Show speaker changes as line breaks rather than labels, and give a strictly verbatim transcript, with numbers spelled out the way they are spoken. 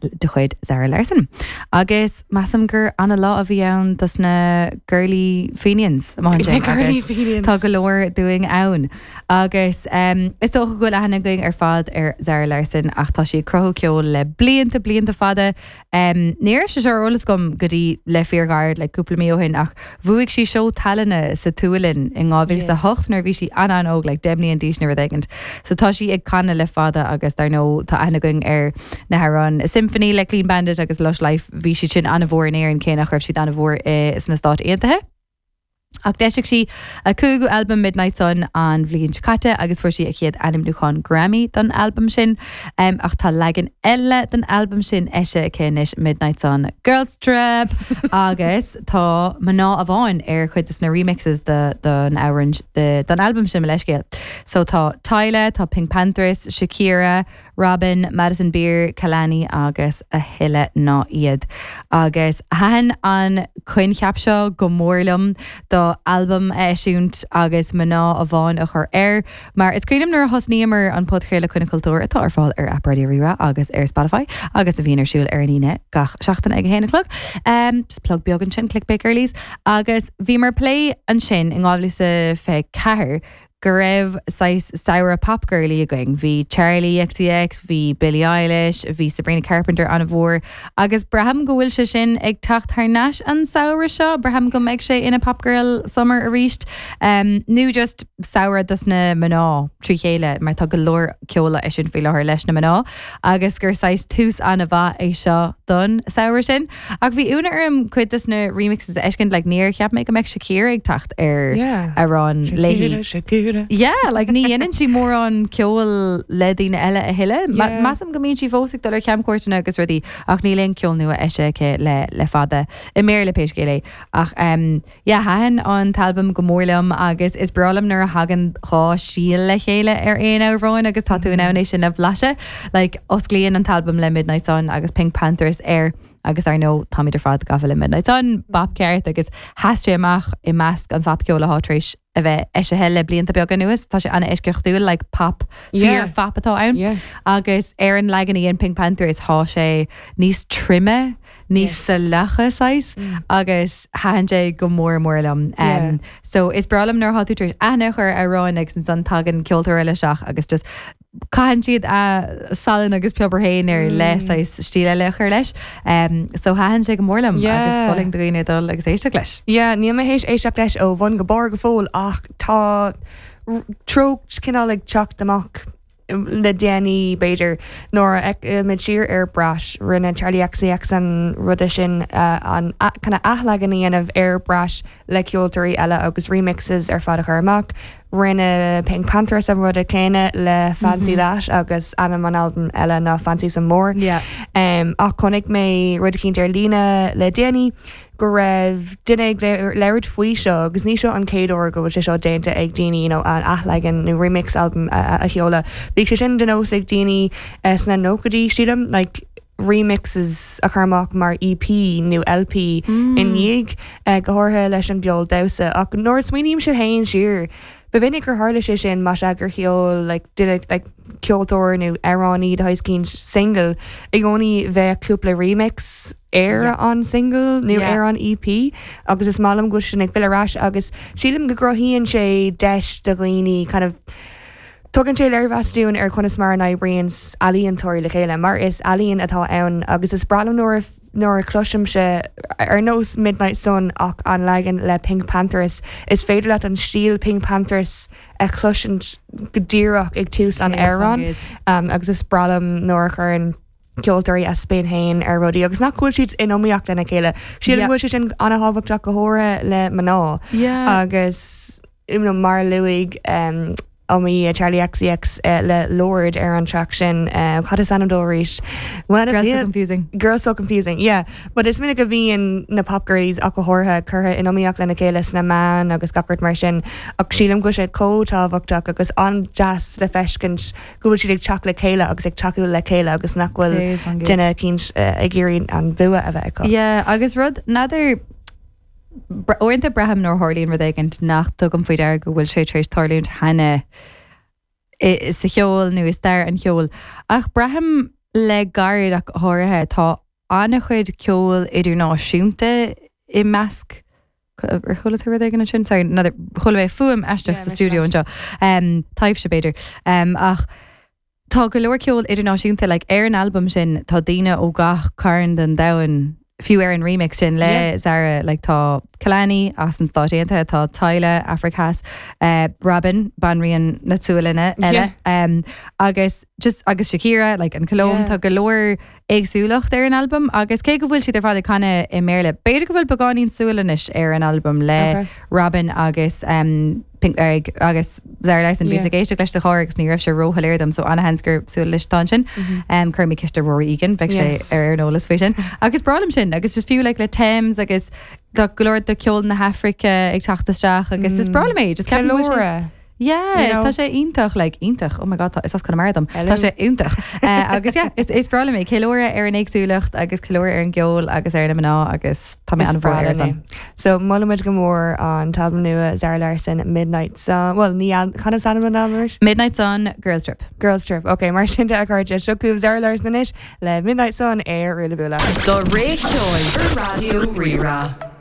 de chuid Zara Larsson. Agus measaim gur an-lá a bhí ann dos na Girly Fenians. Tá go leor dúinn ann. Agus um, is dócha go bhfuil aithne againn ar fad ar Zara Larsson ach tá sí ag cruthú ceol le blianta blianta fada. Um, Ní raibh sé seo ar eolas agam go dtí le fíorghairid le cúpla mí ó shin ach bhuaigh sí seó tallainne sa tSualainn in dhá mhíle a hocht nuair bhí sí an-an-óg le deich mbliana d'aois nó rud éigin. So tá sí ag canadh le fada agus dar ndóigh tá aithne againn ar na hamhráin Symphony le Clean Bandit agus Lush Life bhí siad sin an-mhór in Éirinn cé nach raibh siad an-mhór sna Stáit Aontaithe. Ach d'eisigh sí a cúigiú albam Midnight Sun an bhliain seo caite agus fuair sí a chéad ainmniúchán Grammy don albam sin um, ach tá leagan eile den albam sin eisithe aici anois Midnight Sun Girls Trip agus tá mná amháin ar chuid de na remixes de don amhrán don albam sin leiscéil. So tá Tyla, tá PinkPantheress, Shakira, Robyn, Madison Beer, Kehlani agus a thuilleadh ná iad. Agus thaitin an coincheap seo go mór liom do albam a eisiúint agus mná amháin a chur air, mar is cuimhin nuair a thosnaíomar an podchraoladh Coinne Cultúir atá ar fáil ar app Raidió Rí-Rá agus ar Spotify agus a bhíonn ar siúl ar an Aoine gach seachtain ag a haon a chlog. Um, just plug beag ansin clickbait girlies agus bhíomar ag plé ansin in dhá mhíle is fiche ceathair go raibh saghas samhradh pop girly againn. Bhí Charli XCX, bhí Billie Eilish, bhí Sabrina Carpenter an-mhór, agus braithim go bhfuil sé sin ag teacht thar n-ais an samhradh seo, braithim go mbeidh sé ina pop girl summer arís. Um, nó just samhradh dos na mná trí chéile mar tá go leor ceol á eisiúint faoi láthair leis na mná, agus gur saghas tús an-mhaith é seo don samhradh sin. Ach bhí ionadh orm cuid des na remixes a fheiscint like, níor cheap mé go mbeadh Shakira ag teacht ar
Yeah.
amhrán léi.
Shakira.
Yeah, like ní dhéanann sí mórán ceol le daoine eile a thuilleadh.
Yeah.
Measaim go mbíonn sí fós ag dul ar chamchuairteanna agus rudaí ach níl aon ceol nua eisithe aici le le fada i mBéarla pé scéal é. Ach um, yeah, thaitin an t-albam go mór liom agus is breá liom nuair a thagann dhá stíl le chéile ar aon amhrán agus tá tú in ann é sin a bhlaiseadh. Like, osclaíonn an t-albam le Midnight Sun agus PinkPantheress air agus ar ndóigh táimid ar fad gafa le Midnight Sun, bap ceart agus sheas sé amach i measc an phopcheoil atá tar éis a bheith eisithe le blianta beaga anuas, tá sé an-eisceachtúil like pop
Yeah.
fíor phop atá ann.
Yeah.
Agus ar an leagan a dhein PinkPantheress tá sé níos troime, níos
Yes.
salacha saghas agus thaitin sé go mór mór liom. Um,
Yeah.
So is breá liom nuair atá tú tar éis aithne a chur ar amhrán agus ansan tagann ceoltóir eile isteach agus just caitheann siad a salann agus piobar féin ar le saghas stíl eile a chur leis. Um, so thaitin sé go mór liom
Yeah.
agus mholfainn do dhaoine dul agus éisteacht leis.
Yeah, níl mé théis éisteacht leis ó bhun go barr go fóill ach tá r- treocht cineál ag teacht amach le déanaí b'fhéidir nuair a muid siar ar Brat rinne Charli XCX an ruda sin uh, an kind of athleagan a dhéanamh ar Brat le ceoltóirí eile agus remixes ar fad a chur amach. Rinne PinkPantheress an ruda céanna le Fancy mm -hmm. That agus ainm an album eile ná Fancy Some More.
Yeah.
Um, ach chonaic mé rud éicint ar líne le déanaí go raibh duine ag labhairt faoi seo agus ní seo an chéad uair go bhfuil sé seo déanta ag daoine you know, an athleagan nó remix album a, a, a sheoladh. Bhí sé sin de nós ag daoine uh, sna nóchaidí sílim like, remixes a chur amach mar EP nó LP mm. i ndiaidh uh, go háirithe leis an gceol damhsa ach nuair a smaoiním sé féin siar. Ba mhinic gur tharla sé sin mar gur sheol like, duine like, ceoltóir nó amhránaí de éicint single i gcónaí bheith cúpla remix ar
Yeah.
an single nó
Yeah.
ar an EP agus is maith liom go sin ag filleadh ar ais agus sílim go gcruthaíonn sé deis do dhaoine kind of Tugann sé léirmheas dúinn ar conas mar a n-oibríonn ealaíontóirí le chéile, mar is ealaín atá ann agus is breá liom nuair a- nuair a chloisim sé ar nós Midnight Sun ach an leagan le PinkPantheress is féidir leat an stíl PinkPantheress a chloisint go díreach ag tús an amhrán um, agus is breá liom nuair a chuireann ceoltóirí a spin féin ar rudaí agus nach bhfuil siad in iomaíocht lena chéile. Sílim
Yeah.
go bhfuil sé sin an-tábhachtach go háirithe le mná.
Yeah.
agus you know, mar luaigh um, iomaí Charli XCX uh, le Lorde ar an track sin uh, cad is ainm dó arís. When
Girls so confusing.
Girls so confusing, yeah. But is minic a bhíonn na pop girlies ach go háirithe curtha in iomaíocht lena chéile sna meáin agus gach rud mar sin ach sílim go sé chomh tábhachtach agus an-deas le feiscint go bhfuil siad ag teacht le chéile agus ag tacú le chéile agus nach bhfuil
Céad faoin gcéad.
duine éicint uh, ag iarraidh an bua a bheith acu.
Yeah, agus rud n'fheadar uaireanta braithim nuair a tharlaíonn rud éigin nach dtugaim faoi deara go bhfuil sé tar éis tarlúint cheana i- sa cheol nó i stair an cheoil. Ach braithim le gairid ach go háirithe tá an-chuid ceol idirnáisiúnta i measc ar chuala tú rud éigin ansin? Sorry, another chuala mé fuaim aisteach
Yeah,
sa
mise
studio anseo. Um, taibhse b'fhéidir. Um, ach tá go leor ceol idirnáisiúnta like, ar an album sin tá daoine ó gach cearn den domhan fiú ar an remix sin le
Yeah.
Zara like, tá Kehlani as na Stáit Aontaithe, tá Tyla Afraic Theas, uh, Robyn banríon na Sualainne eile um, agus just agus Shakira like, an Colóim
Yeah.
tá go leor éagsúlacht ar an album agus cé go bhfuil siad ar fad ag canadh i mBéarla. B'fhéidir go bhfuil beagáinín Sualainnis ar an album le
Okay.
Robyn agus um, Pink, uh, agus Zara Larsson bhí
Yeah.
ag éisteacht leis sa charr agus ní raibh sé róshoiléir dom so an-sheans gur Sualainnis atá ansin um, chuir mé ceist ar Rory Egan bheadh sé
Yes.
ar an eolas faoi sin. Agus breá liom sin agus just fiú like, le Tems agus tá go leor de ceol na hAfraice ag teacht isteach agus is breá liom é just ceapaim go bhfuil sé-
Ceiliúradh.
Yeah,
You know?
tá sé iontach like iontach oh my god tá is as Conamara dom
Hello.
Tá sé iontach uh, agus yeah, is is breá liom é ceiliúradh ar an éagsúlacht agus ceiliúradh ar an gceol agus ar na mná agus tá mé
Is
an
breá
ar
liom
son.
é. So molaimid go mór an t-albam nua Zara Larsson Midnight Sun well ní al- cad is ainm an album
Midnight Sun Girls Trip.
Girls Trip Ok mar sin de a chairde seo chugaibh Zara Larsson anois le Midnight Sun ar Ruile Bula.
Do ré ceoil ar Raidió Rí-Rá.